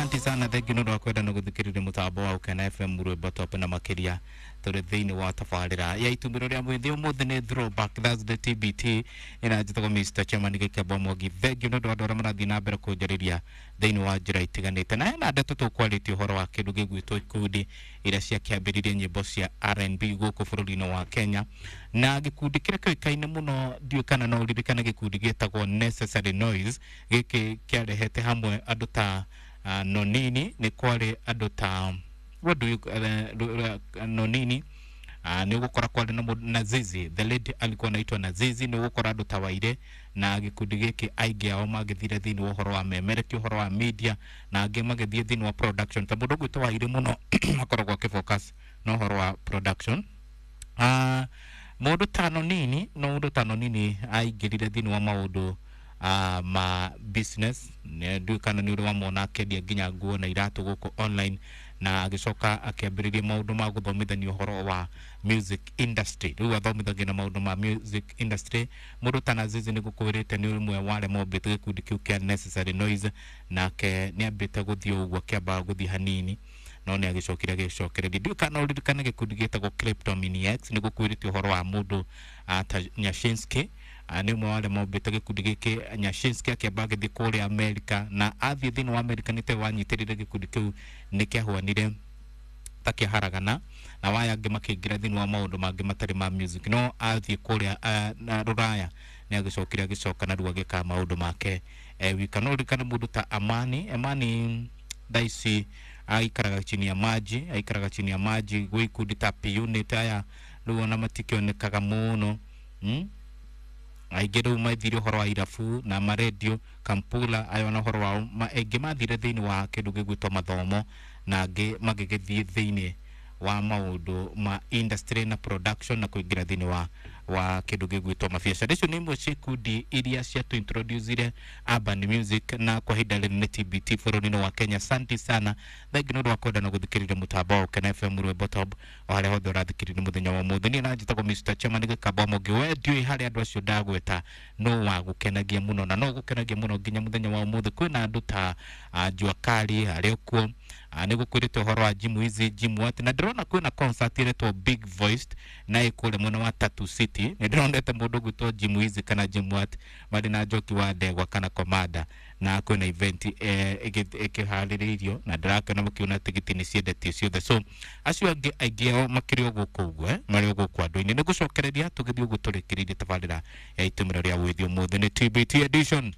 Asante sana, thengi nĩ ũndũ wa kwenda na gũthikĩrĩria mũtambo wa Ũkena FM rwĩmbo top na makĩria tũrĩ thĩinĩ wa tabarĩra ya itumbĩro rĩa mwĩthĩ. Ũmũthĩ nĩ Throwback Thursday, TBT ĩna njĩtagwo Mr. Chairman Gĩkembo Mwangi. Thengi nĩ ũndũ wa andũ arĩa marathiĩ na mbere kũnjarĩria thĩinĩ wa njĩra itiganĩte, na hena ndeto tũkwarĩtie ũhoro wa kĩndũ gĩgwĩtwo ikundi iria ciakĩambĩrĩirie nyĩmbo cia R&B gũkũ bũrũri-inĩ wa Kenya, na gĩkundi kĩrĩa kĩũĩkaine mũno, ndiũĩ kana no ũririkane gĩkundi gĩtagwo Necessary Noise. Gĩkĩ kĩarehete hamwe andũ ta Nonini, nĩ kwarĩ andũ ta what do you Nonini, nĩ ũgũkora kwarĩ na mũndũ Nazizi, the lady alikuwa anaitwa Nazizi. Nĩ ũgũkora andũ ta Waire na gĩkundi gĩkĩ, aingĩ ao magĩthire thĩinĩ wa ũhoro wa memereki, ũhoro wa media, na angĩ magĩthiĩ thĩinĩ wa production, ta mũndũ ũgwĩtwo Waire mũno akoragwo akĩfocus na ũhoro wa production. Mũndũ ta Nonini, no mũndũ ta Nonini aingĩrire thĩinĩ wa maũndũ ma business. Ndiũĩ kana nĩ ũrĩ wamona akĩendia nginya nguo na iratũ gũkũ online, na agĩcoka akĩambĩrĩria maũndũ ma gũthomithania ũhoro wa music industry. Rĩu athomithagia na maũndũ ma music industry. Mũndũ ta Nazizi, nĩ gũkwĩrĩte, nĩ ũmwe wa arĩa mombĩte gĩkundi kĩu kĩa Necessary Noise, nake nĩ ambĩte gũthiĩ ũguo, akĩamba gũthiĩ hanini, no nĩ agĩcokire agĩcokereria. Ndiũĩ kana ũririkane gĩkundi gĩtagwo Kleptomaniacs. Nĩ gũkwĩrĩte ũhoro wa mũndũ ta Nyashinski, nĩ ũmwe wa arĩa mombĩte gĩkundi gĩkĩ. Nyashinski akĩamba agĩthiĩ kũrĩa Amerika, na athiĩ thĩinĩ wa Amerika nĩ tawe wanyitĩrĩire gĩkundi kĩu, nĩ kĩahwanire ta kĩaharagana na waya angĩ makĩingĩra thĩinĩ wa maũndũ mangĩ matarĩ ma music, no athiĩ kũrĩa na rũraya nĩ agĩcokire agĩcoka na rĩu agĩka maũndũ make wika. No ũririkane mũndũ ta Amani. Amani thaa ici aikaraga chini ya maji, aikaraga chini ya maji gwĩ ikundi ta P-Unit. Aya rĩu ona matikĩonekaga mũno, Aingĩ rĩu mathire ũhoro wa irabu na marendio kampula ayo, na ũhoro wao aingĩ mathire thĩinĩ wa kĩndũ gĩgwĩtwo mathomo, na angĩ magĩgĩthiĩ thĩinĩ wa maũndũ ma industry na production na kũingĩra thĩinĩ wa kĩndũ gĩgwĩtwo mabiacara. Icio nĩ imwe cia ikundi iria ciatũ-introducire urban music na kwa ihinda rĩrĩ nĩ TBT bũrũri-inĩ wa Kenya. Asante sana, thengi nĩ ũndũ wa kwenda na gũthikĩrĩria mũtambo wa Ũkena FM rwĩmbo top o harĩa hothe ũrathikĩrĩria mũthenya wa ũmũthĩ. Niĩ na njĩtagwo Mr. Chairman Gĩkamba Mũngĩ. We ndiũĩ harĩa andũ acio ndagweta no wa gũkenagia mũno na no gũkenagia mũno nginya mũthenya wa ũmũthĩ. Kwĩna andũ ta Jua Kali arĩ kuo, nĩ gũkwĩrĩte ũhoro wa Jim Wizi, Jim Watt, na ndĩrona kwĩna concert ĩretwo Big Voiced na ĩ kũrĩa mwena wa Tatu City. Nĩ ndĩronete mũndũ ũgwĩtwo Jim Wizi kana Jim Watt marĩ na Njoki wa Ndegwa kana Komanda, na kwĩna event ĩkĩharĩrĩirio na ndĩrakena mũkiona tigiti nĩ ciendetio ciothe. So acio angĩ aingĩ ao makĩrĩ o gũkũ ũguo, marĩ o gũkũ andũ-inĩ. Nĩ gũcokereria tũgĩthiĩ ũguo tũrĩkĩrĩirie tabarĩra ya itũmĩro rĩa wĩthĩ. Ũmũthĩ nĩ TBT edition.